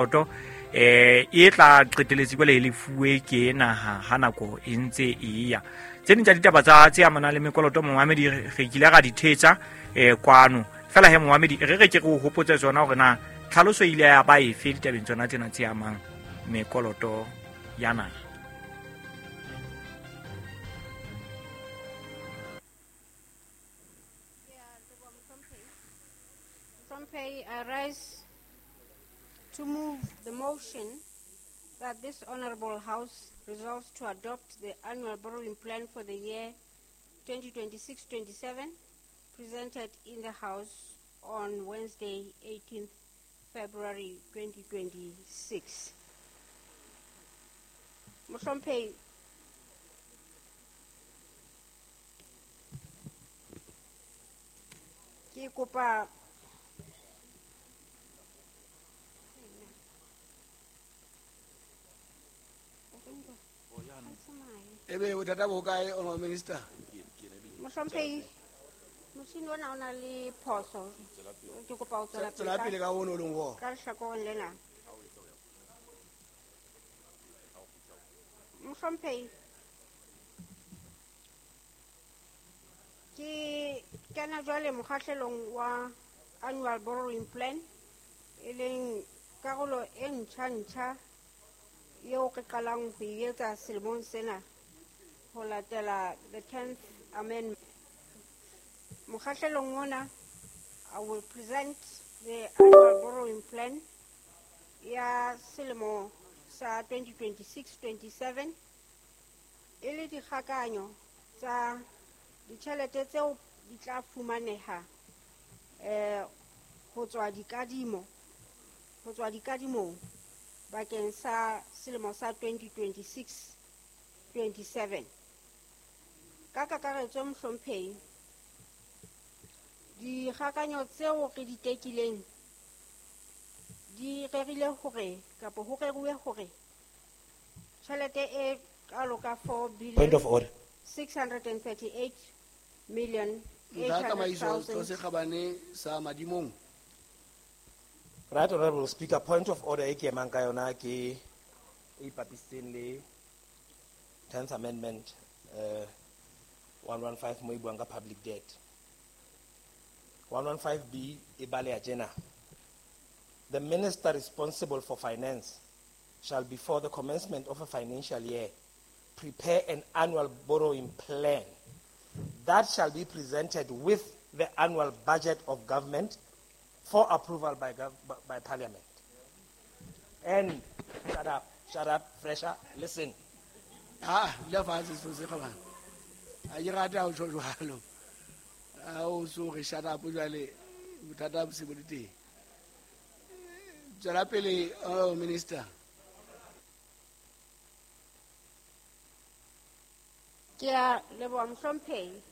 Mekoloto e tla qeteletse jwale e lefuwe ke naha ha nako e ntse e ya. Tse ding tsa ditaba tsa tse amanang le mekoloto, momamedi, re kile ra di thetsa kwano fela. He momamedi, re re ke re o hopotse tsona hore na tlhaloso e ile ya ba efe ditabeng tsona tsena tse amang mekoloto ya naha. Mohlomphehi, I rise to move the motion that this Honorable House resolves to adopt the annual borrowing plan for the year 2026-27 presented in the House on Wednesday, 18th February 2026. Mohlomphehi, ke kopa Ebe bothata bo kae, Honorable Minister? Mohlomphehi, motjhini ona o na le phoso. Ke kopa ho tswela Tswela pele ka ono o leng ho ka lehlakoreng lena. Mohlomphehi, ke kena jwale mokgahlelong wa annual borrowing plan, e leng karolo e ntjha-ntjha eo re qalang ho e etsa selemong sena ho latela the 10th Amendment. Mokgahlelong ona, I will present the annual borrowing plan ya selemo sa 2026-27, e le dikgakanyo tsa ditjhelete tseo di tla fumaneha ho tswa dikadimo, ho tswa dikadimong bakeng sa selemo sa 2026-27. Ka kakaretso, Mohlomphehi, dikgakanyo tseo re di tekileng di rerile hore, kapa ho reruwe hore, tjhelete e kalo ka 4 billion Point of order. 638 million Ntlha tsamaiso, Setho 800,000. se Kgabane sa Madimong. Right Honorable Speaker, point of order e ke emang ka yona ke e ipapisitseng le 10th Amendment, 115, mo e buang ka public debt. 115B e baleha tjena: The minister responsible for finance shall, before the commencement of a financial year, prepare an annual borrowing plan that shall be presented with the annual budget of government for approval by Parliament. And shut up, shut up, fresher, listen. Ah, dula fatshe, Setho se Kgabane. Ha ke rate ha o tjho jwalo. Ha o so re shut up jwale, bothata bo se bo le teng. Tswela pele, Honorable Minister. Ke a leboha, Mohlomphehi.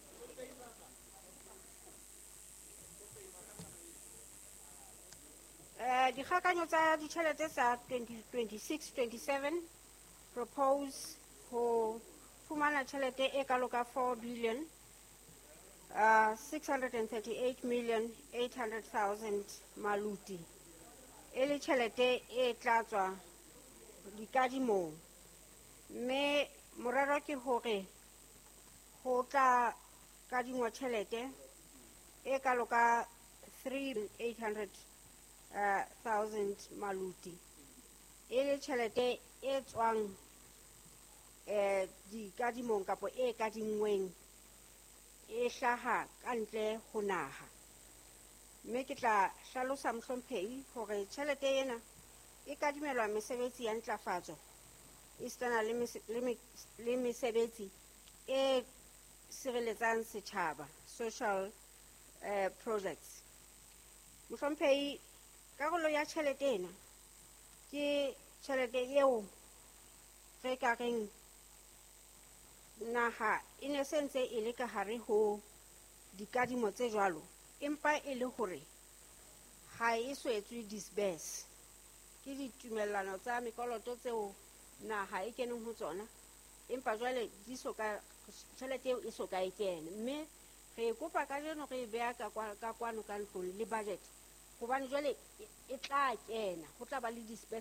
Dikgakanyo tsa ditjhelete tsa 2026-27 propose ho fumana tjhelete e kalo ka 4 billion 638 million 800,000 maluti, e le tjhelete e tla tswa dikadimong, mme morero ke hore ho tla kadingwa tjhelete e kalo ka 3 800 thousand maluti, e le tjhelete e tswang dikadimong kapo e kadinngweng e hlaha ka ntle ho naha. Mme ke tla hlalosa, Mohlomphehi, hore tjhelete ena e kadimelwa mesebetsi ya ntlafatso esitana le mesebetsi e sireletsang setjhaba, social projects. Mohlomphehi, karolo ya tjhelete ena ke tjhelete eo re ka reng naha e ne se ntse e le ka hare ho dikadimo tse jwalo, empa e le hore ha e so etswe disburse. Ke ditumellano tsa mekoloto tseo naha e keneng ho tsona, empa jwale di so ka, tjhelete eo e so ka e kene, mme re e kopa kajeno, re e beha ka kwano ka ntlong le budget, hobane jwale e tla kena, ho tla ba le disbursement.